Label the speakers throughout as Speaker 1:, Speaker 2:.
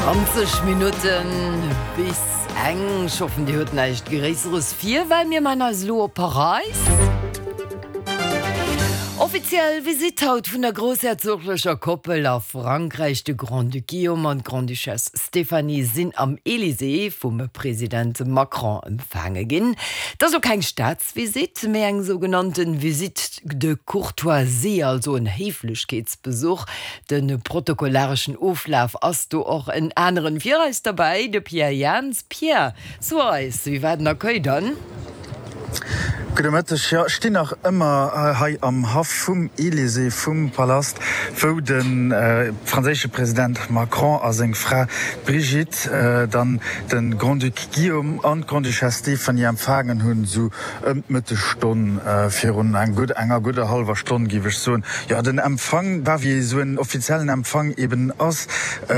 Speaker 1: 20 Minutten bis eng. Ech hoffen, Dir huet näischt Gréisseres vir, well mir man eis elo op Paräis. Offiziell Visitt haut vun der groussherzoglecher Koppel a Frankräich. De Grand-Duc Guillaume an d'Grande-Duchesse Stéphanie sinn am Elysée vum President Macron empfaange ginn. Et ass elo keng Staatsvisitt, mee eng sougenannte Visite de courtoisie, also en Héiflechkeetsbesuch. De protokollareschen Oflaf ass do och en aneren. Fir eis derbäi de Pierre Jans. Pierre, so eis, wéi war den Accueil dann?
Speaker 2: Gudde Mëtteg. Jo, ech stinn nach ëmmer hei am Haff vum Elysée, vum Palast, wou de franséische President Macron a seng Fra Brigitte dann de Grand-Duc Guillaume an d'Grande-Duchesse Stéphanie empfaangen hunn, esou ëm d'Mëttegstonn, virun enger gudder hallwer Stonn, géif ech soen. Jo, den Empfang war, wéi esou en offiziellen Empfang eben ass,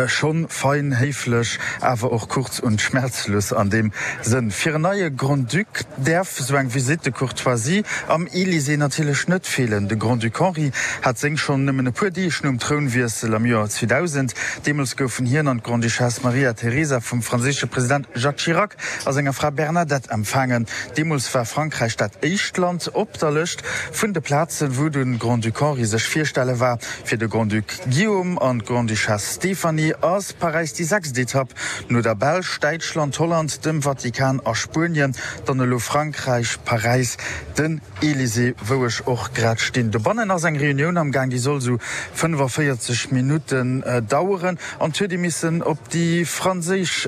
Speaker 2: schonn fein, héiflech, awer och kurz und schmerzlos an deem Sënn. Fir en neie Grand-Duc däerf esou eng Visite de courtoisie am Elysée natierlech net feelen. De Grand-Duc Henri hat seng schonn nëmmen e puer Deeg nom Trounwiessel am Joer 2000. Deemools goufen hien an d'Grande-Duchesse Maria Teresa vum franséische President Jacques Chirac a senger Fra Bernadette empfaangen. Deemools war Frankräich dat éischt Land op der Lëscht vun de Plazen, wou de Grand-Duc Henri sech virstelle war. Fir de Grand-Duc Guillaume an d'Grande-Duchesse Stéphanie ass Paräis déi sechst Etapp, no der Belsch, Däitschland, Holland, dem Vatikan a Spuenien, dann elo Frankräich, Paräis, den Elysée, wou ech och grad stinn. Dobannen ass eng Reunioun am Gaang, déi soll esou 45 Minutten daueren an et huet ee missen op déi franséisch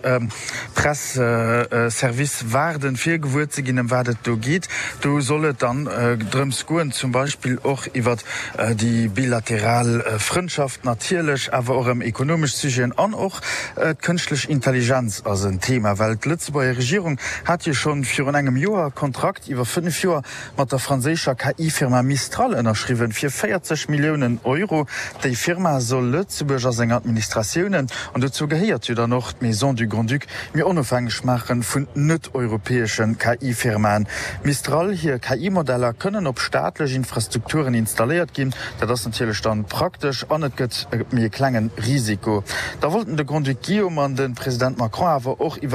Speaker 2: Press-Service waarden, fir gewuer ze ginn, ëm wat et do geet. Do soll et dann drëms goen, zum Beispill och iwwert déi bilateral Frëndschaft natierlech, awer och ëm ekonomesch Sujeten an och d'kënschtlech Intelligenz ass en Thema, well d'Lëtzebuerger Regierung hat jo schonn virun engem Joer e Kontrakt iwwer 5 Joer mat der franséischer KI-Firma Mistral ënnerschriwwen, fir 40 Milliounen Euro. Déi Firma soll Lëtzebuerg a seng Administratiounen, an dozou gehéiert jo dann och d'Maison du Grand-Duc, méi onofhängeg maache vun net-europäesche KI-Firmaen. Mistral hir KI-Modeller kënnen op staatlech Infrastrukturen installéiert ginn. Dat ass natierlech dann praktesch an et gëtt méi e klengen Risiko. Da wollten de Grand-Duc Guillaume an de President Macron awer och iwwer.